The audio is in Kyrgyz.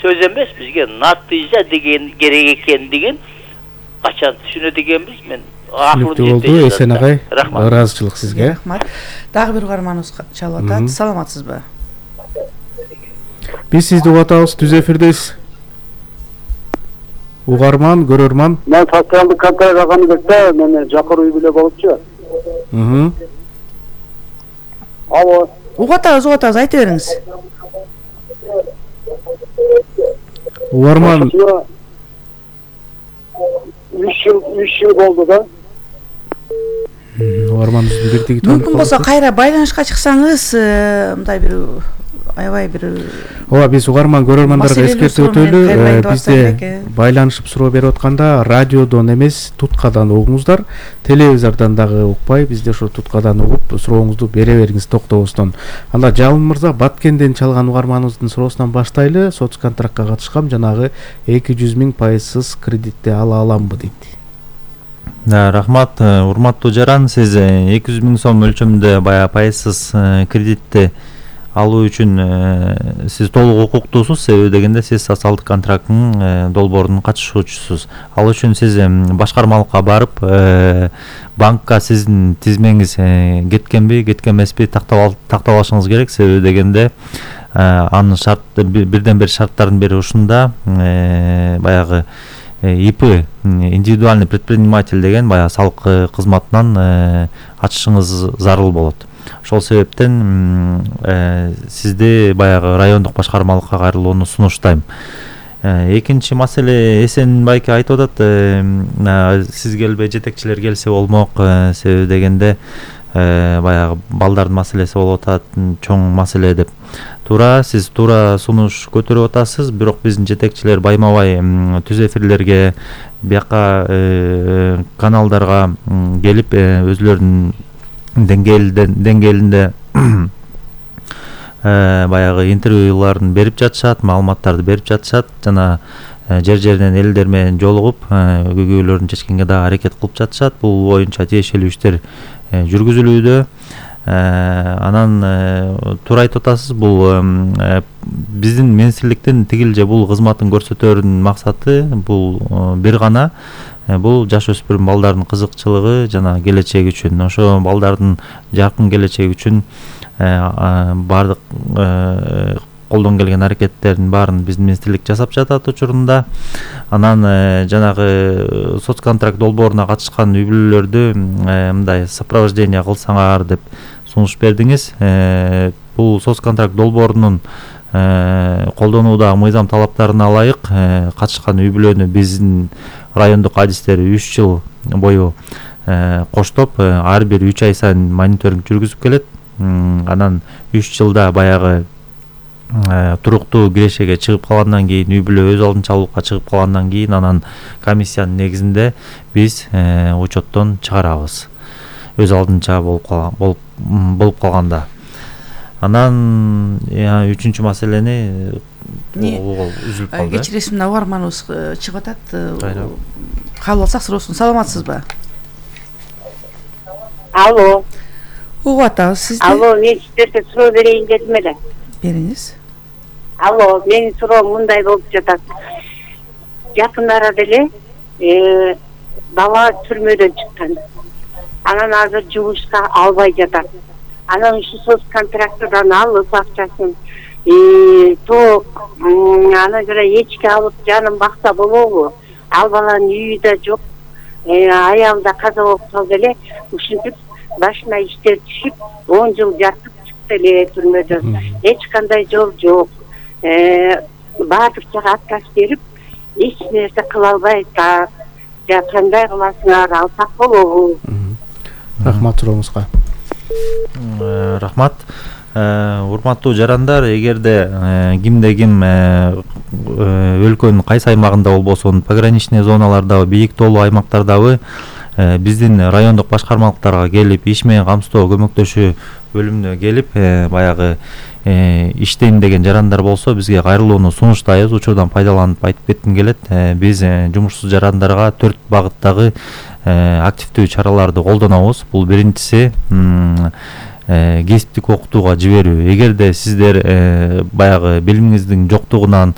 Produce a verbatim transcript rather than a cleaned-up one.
сөз эмес, бизге натыйжа деген керек экендигин качан түшүнөт экенбиз. Мен Түшүнүктүү болду. Эсен агай, ыраазычылык сизге. Рахмат. Дагы бир угарманыбыз чалып атат. Саламатсызбы? Биз сизди угуп атабыз, түз эфирдесиз. Угарман, көрөрман. Мен социалдык контракт алган кезде мен жакыр үй бүлө болупчу. Мм. Алло. Угуп атабыз, угуп атабыз, айта бериңиз. Угарман. үч жыл, үч жыл болду да. Угарманыбыздын бирдиги топ. Мүмкүн болсо кайра байланышка чыксаңыз, мындай бир аябай бир Ооба, биз угарман көрөрмандарга эскертип өтөлү. Бизде байланышып суроо берип атканда радиодон эмес, туткадан угуңуздар. Телевизордон дагы укпай, бизде ошо туткадан угуп сурооңузду бере бериңиз токтобостон. Анда Жалын мырза Баткенден чалган угарманыбыздын суроосунан баштайлы. Соцконтрактка катышкам, жанагы эки жүз миң пайызсыз кредитти ала аламбы дейт. Да, рахмат, урматтуу жаран, сиз эки жүз миң сом өлчөмүндө баягы пайызсыз кредитти алуу үчүн сиз толук укуктуусуз, себеби дегенде сиз социалдык контракттын долбоорунун катышуучусуз. Ал үчүн сиз башкармалыкка барып, банкка сиздин тизмеңиз кеткенби, кеткен эмеспи тактап алышыңыз керек, себеби дегенде анын шарт бирден бир шарттардын бири ушунда, баягы ИП, индивидуальный предприниматель деген баягы салык кызматынан ачышыңыз зарыл болот. Ошол себептен сизди баягы райондук башкармалыкка кайрылууну сунуштайм. Экинчи маселе, Эсен байке айтып атат, сиз келбей жетекчилер келсе болмок, себеби дегенде баягы балдардын маселеси болуп атат, чоң маселе деп. Туура, сиз туура сунуш көтөрүп атасыз, бирок биздин жетекчилер байма-бай түз эфирлерге, бияка каналдарга келип өзлөрүнүн деңгээлинде баягы интервьюларын берип жатышат, маалыматтарды берип жатышат, жана жер-жерден элдер менен жолугуп, көйгөйлөрүн чечкенге дагы аракет кылып жатышат. Бул боюнча тиешелүү иштер жүргүзүлүүдө. Анан туура айтып атасыз, бул биздин министрликтин тигил же бул кызматын көрсөтөрүнүн максаты бул бир гана, бул жаш өспүрүм балдардын кызыкчылыгы жана келечеги үчүн. Ошо балдардын жаркын келечеги үчүн бардык колдон келген аракеттердин баарын биздин министрлик жасап жатат учурунда. Анан жанагы соцконтракт долбооруна катышкан үй бүлөлөрдү мындай сопровождение кылсаңар деп сунуш бердиңиз. Бул соцконтракт долбоорунун колдонуудагы мыйзам талаптарына ылайык катышкан үй бүлөнү биздин райондук адистери үч жыл бою коштоп, ар бир үч ай сайын мониторинг жүргүзүп келет. Анан үч жылда баягы туруктуу кирешеге чыгып калгандан кийин, үй бүлө өз алдынчалыкка чыгып калгандан кийин, анан комиссиянын негизинде биз учеттон чыгарабыз. Өз алдынча болуп болуп калганда. Анан үчүнчү маселени үзүлүп калды. Кечиресиз, мына угарманыбыз чыгып атат. Кабыл алсак суроосун. Саламатсызбы? Алло. Угуп атабыз сизди. Алло, мен сиздерге суроо берейин дедим эле. Бериңиз. Алло, менин суроом мындай болуп жатат. Жакын арада эле бала түрмөдөн чыккан. Анан азыр жумушка албай жатат. Анан ушу соцконтракттан алып акчасын ток, ана жана эчки алып жанын бакса болобу? Ал баланын үйү да жок, аялы да каза болуп калды эле. Ушинтип башына иштер түшүп, он жыл жатып чыкты эле түрмөдөн. Эч кандай жол жок. Баардык жака отказ берип, эч нерсе кыла албайт. Жа кандай кыласыңар, алсак болобу? Рахмат сурооңузга. Рахмат. Урматтуу жарандар, эгерде кимде ким өлкөнүн кайсы аймагында болбосун, пограничный зоналардагы, бийик тоолуу аймактардагы биздин райондук башкармалыктарга келип, иш менен камсыздоо көмөктөшүү бөлүмүнө келип, баягы иштейм деген жарандар болсо, бизге кайрылууну сунуштайбыз. Учурдан пайдаланып айтып кетким келет. Биз жумушсуз жарандарга төрт багыттагы активдүү чараларды колдонобуз. Бул биринчиси кесиптик окутууга жиберүү. Эгерде сиздер баягы билимиңиздин жоктугунан